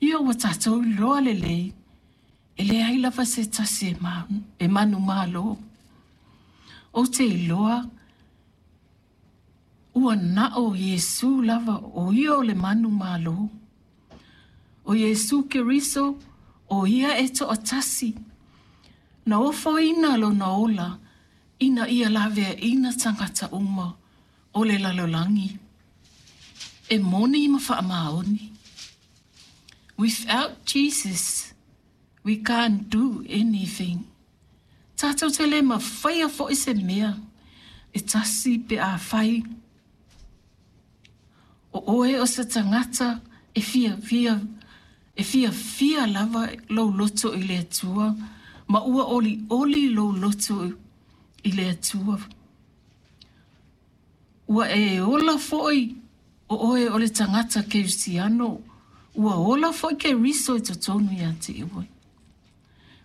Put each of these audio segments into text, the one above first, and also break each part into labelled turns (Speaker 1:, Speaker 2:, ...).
Speaker 1: Ia ua tatou iloa lelei, e leai lava se tasi e manumalo. Ou te iloa ua na o Iesu lava o ia o le manumalo. O Iesu Keriso, o ia e toatasi, na ofoina lona ola ina ia laveaina tagata uma o le lalolagi. E moni ma faamaoni. Without Jesus, we can't do anything. Tatou te le mafaia foi se mea e tasi pe afai o oe o se tagata e fiafia e fiafia lava lou loto i le Atua ma ua olioli lou loto i le Atua. Ua e ola foi o oe o le tagata kerisiano, ua ola foi Keriso i totonu ia te oe.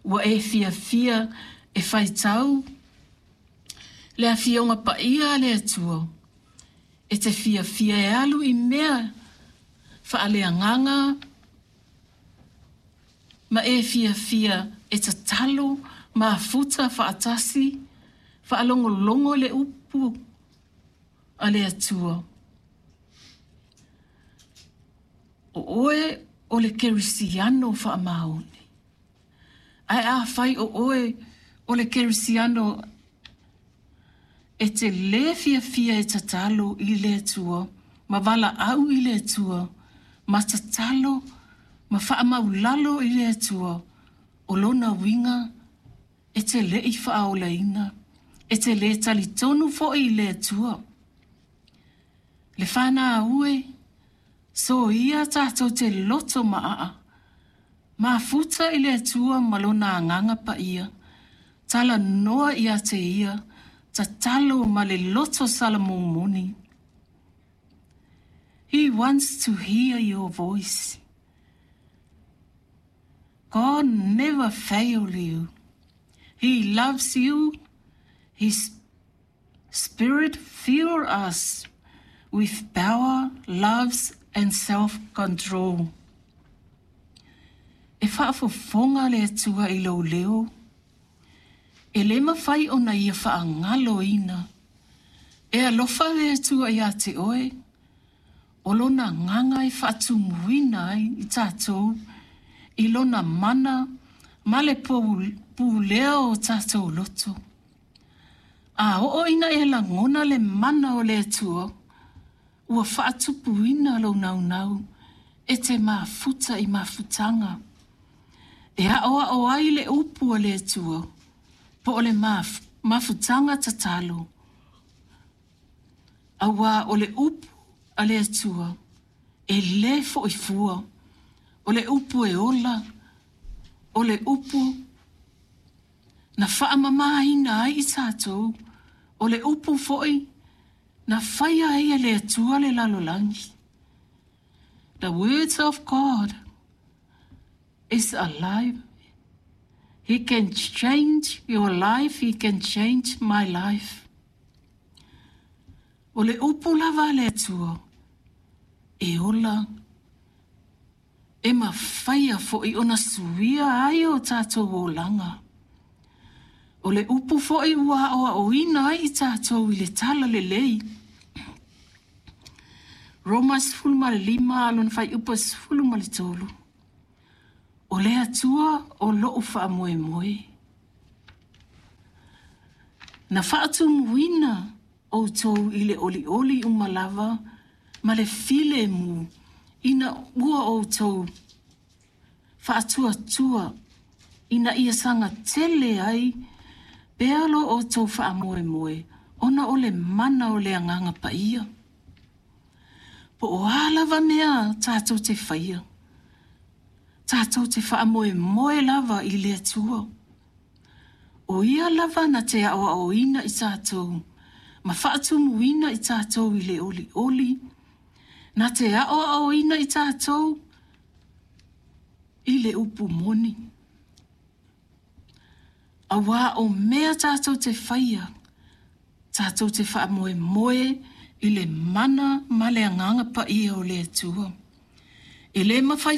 Speaker 1: Ua e fiafia e faitau le afioga paia a le Atua, e te fiafia e alu i mea faaleagaga ma e fiafia e tatalo mafuta faatasi, faalogologo i le upu a le Atua. O oe o le kerisiano faamaoni. Ae afai o oe o le kerisiano e te lē fiafia e tatalo i le Atua ma valaau i le Atua ma tatalo ma faamaulalo i le Atua, o lona uiga e te le'i faaolaina, e te lē talitonu foi i le Atua. Le fanau e, soia tatou te loto maaa, mafuta i le Atua ma lona agaga paia, talanoa ia te ia, tatalo ma le loto salamomoni. He wants to hear your voice. God never fail you. He loves you. His spirit fill us with power, loves and self-control. E faafofoga le Atua i lou leo. E le mafai ona ia faagaloina. E alofa le Atua ia te oe. O lona agaga e faatumuina ai i tatou i lona mana ma le pulea o tatou loto. A oo ina e lagona le mana o le Atua, ua faatupuina lou naunau e te mafuta i mafutaga. E aoao ai le upu a le Atua, po o le mafutaga tatalo. Auā o le upu a le Atua, e lē fo'i fua, o le upu e ola, o le upu na faamamāina ai i tatou, o le upu foi na faia ai e le Atua le lalolagi. The words of God is alive. He can change your life, he can change my life. O le upu lava a le Atua, e ola, e mafaia foi ona suia ai o tatou olaga. O le upu foi ua aoaoina ai i tatou i le talalelei. Roma 15 lona fuaiupu 13. O le Atua o lou faamoemoe. Na faatumuina outou i le olioli uma lava ma le filemu ina ua outou faatuatua ina ia sagatele ai pea lo outou faamoemoe ona o le mana o le agaga paia. Po o a lava mea tatou te faia, tatou te faamoemoe lava i le Atua. O ia lava na te aoaoina i tatou ma faatumuina i tatou i le olioli, na te aoaoina i tatou i le upu moni. Auā o mea tatou te faia, tatou te faamoemoe i le mana ma le agaga paia o le Atua. E le mafai